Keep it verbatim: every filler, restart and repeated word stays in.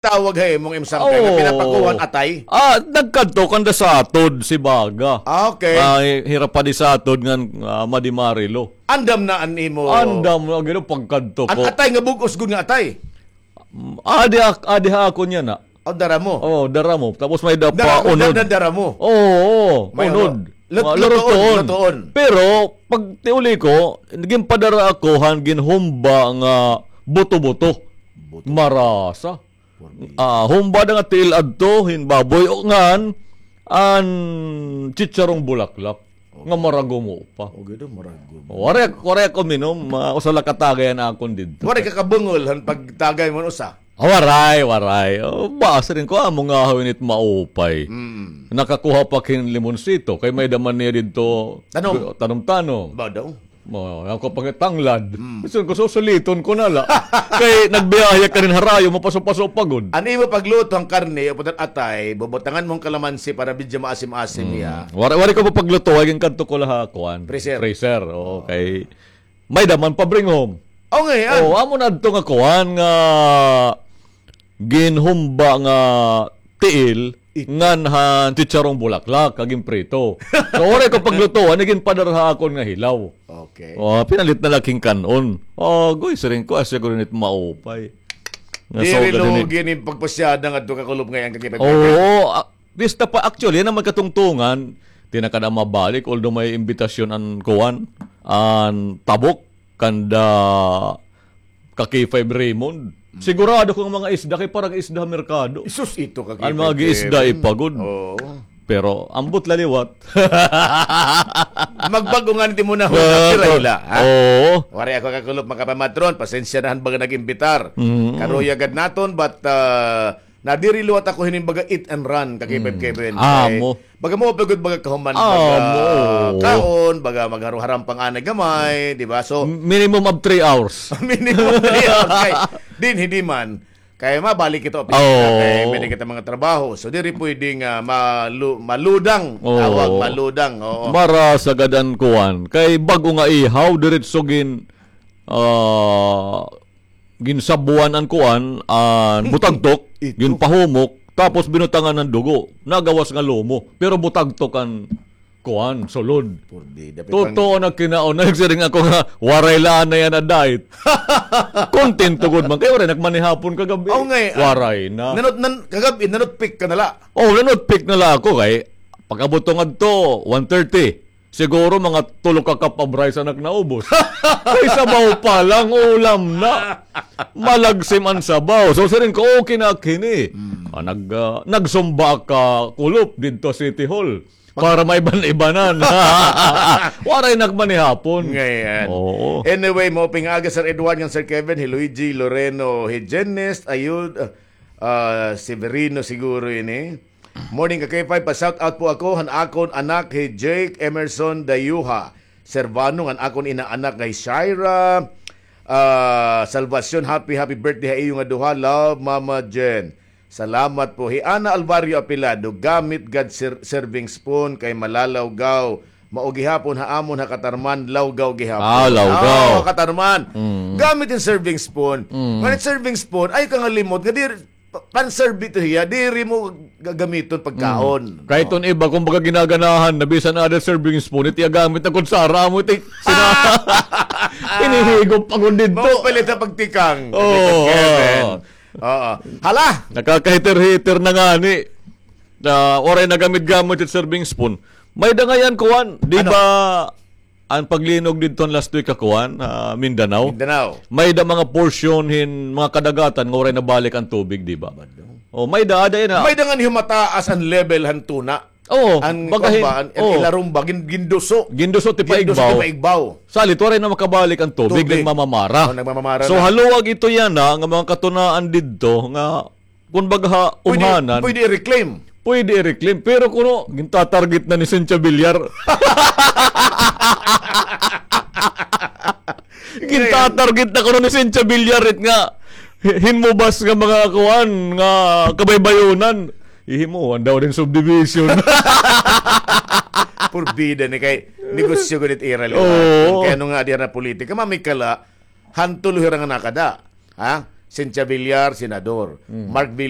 tawag ha imo nga imsangkay nga pinapakuha han atay? Ah, nagkadto kanda Satod, Sibaga. Ah, okay. Ah, hi-, hira pa di Satod ngan, ah, Madi Marilo. Andam na an imo. Andam na gid pagkadto ko. An atay nga bug-os gud nga atay. Mm, adi ak-, adi ha akon yana. O, dara mo. O, dara mo. Tapos may-ada pa unod. Dara, dara mo. Oo, oo. May unod. Lut-, lutoon, lutoon. Pero pag tiuli ko, ginpadara ako han ginhumba nga buto-buto. Buto. Marasa. Ah, humba na nga tiil adto hin baboy o ngan an chicharong bulaklak nga maragum pa. O, gid, maragum. O, waray, waray ako minom, ah, usa la ka tagay an akon didto. Waray ka kabungol han pagtagay mo usa? Ah, waray, waray. O, basi rin ko, amo nga hawin it maupay. Mm. Nakakuha pa kin limonsito, kay may-ada man niya didto tanom-tanom. Ba daw? Mo, ako pag tanglad. Mm. Gusto ko, susuliton ko na la. Kay nagbiyahe ka rin harayo, mapaso-paso pa gud. An imo pagluto han karne, o putat atay, bubutangan mo han kalamansi para medyo maasim-asim niya. Wari, wari ko pa pagluto, ay ginkadto ko la ha kuan. Freezer. Freezer, okay. May-ada man pa bring home. O, ngay-an. O, amo na adto nga kuan nga ginhumba nga tiil, ngan han chicharong bulaklak, kag ginprito. So, waray ko paglutoan, ginpadara ha akon nga hilaw. Okay. O, pinalit na la kin kan-on. O, goy, siring ko, asya ko rin it maupay. Diri lugi ni pagpasyada ngadto ka kulop ngay-an kag ipagbalik. Oo, ah, pista pa, actually, yana may katungtungan, di na kada mabalik, although may imbitasyon an kuan, an tabok, kanda ka K five Raymond. Mm. Sigurado ko nga mga isda kay parang isda ha merkado. Isus ito ka K five Raymond. An mga isda ipagod. Oo. Pero ambot la liwat. Magbag-o ngani it imo nahuna, pira hila, ha? Oo. Waray ako kakulop, mga kapamatron, pasensya na han baga nag-imbitar. Mm. Karuyag gad naton, but, ah, nadiri liwat ako hinin baga eat and run, ka K five Kevin. Amo. Kay baga mo pagod, baga kahuman, baga kaon, baga magharuharam pang anay gamay, di ba? So, minimum of three hours. Minimum of three hours. Kay, dinhi di man. Kay mabalik kita opisina, kay may kita mga trabaho. So, diri pwede nga malu-, maludang. Oo. Tawag, maludang. Oo. Marasa gad an kuan. Kay bag-o nga ihaw, diretso gin-, ah, ginsabuan an kuan, an butagtok, ginpahumok, tapos binutangan han dugo. Nagawas nga lumo, pero butagtok an kuan, sulod. Totoo na kinaon. Nagsiring ako nga, waray la na yana diet. Kontento gud man. Kay waray na ak manihapon kagab-i. Waray na. Nanut-, nan-, kagab-i, nanutpik ka na la. O, nanutpik na la ako kay pag-abot ko ngadto, one thirty. Siguro mga tulo ka cup of rice an ak naubos. Kay sabaw pa lang, ulam na. Malagsim an sabaw. So, siring ko, okay na ak hini. Mm. Ah, nag-, ah, nagsumba ak ka kulop didto City Hall. Para maiban-ibanan. Waray na ak manihapon. Ngay-an. Oo. Anyway, maupay nga aga, Sir Edward ngan Sir Kevin, hi Luigi Loreno, hi Jennest, Ayud, ah, Severino siguro ini. Morning, ka K five, pa-shout out po ako han akon anak, hi Jake Emerson Dayuha Servano, ngan akon inaanak nga hi Shaira, ah, Salvacion. Happy, happy birthday ha iyo nga duha. Love, Mama Jen. Salamat po. Hi Ana Alvario Apilado, gamit gad sir-, serving spoon kay malalawgaw. Mao gihapon ha amon ha Catarman, lawgaw gihapon. Ah, lawgaw. Ah, Catarman. Mm. Gamit hin serving spoon. Mm. Ngan it serving spoon, ayaw ka nga limot nga diri, pa-, pan-serve ito hiya, diri mo gagamiton pagkaon. Mm. Kahit an iba, kumbaga, ginaganahan na bisan ada serving spoon, it iya gamit na kutsara, amo it sina-, hinihigop pa gud didto. Mapalit na pagtikang. Oo, Kevin. Oo. Hala! Nakakahiter-hiter na ngani. Na waray na gamit-gamit it serving spoon. May-ada ngay-an kuan, di ba, an paglinog didto last week ha kuan, ha Mindanao? Mindanao. May-ada mga portion hin mga kadagatan nga waray nabalik an tubig, di ba? O, may-ada, ada yana. May-ada ngani humataas an level han tuna. Oo, an baga hin, kuan ba, an, oo, ilarom ba, gin-, ginduso. Ginduso ti paigbaw. Ginduso ti paigbaw. Salit, waray na makabalik an tubig, tubig. Nagmamamara. O, nagmamamara na. So, haluag ito yana nga mga katunaan didto nga, kumbaga, ha umhanan. Pwede, pwede i-reclaim. Pwede i-reclaim. Pero kuno, gintatarget na ni Cynthia Villar. Gintatarget na kuno ni Cynthia Villar it nga hi-, hinmubas nga mga kuan, nga kabaybayonan. Ihimuan daw hin subdivision. Purbida ni kay negosyo gud it ira liwat. Oo. Kay ano nga, adi na politika, mamikala, han tulo hira nga nakada. Ha? Cynthia Villar, senador. Mark Villar,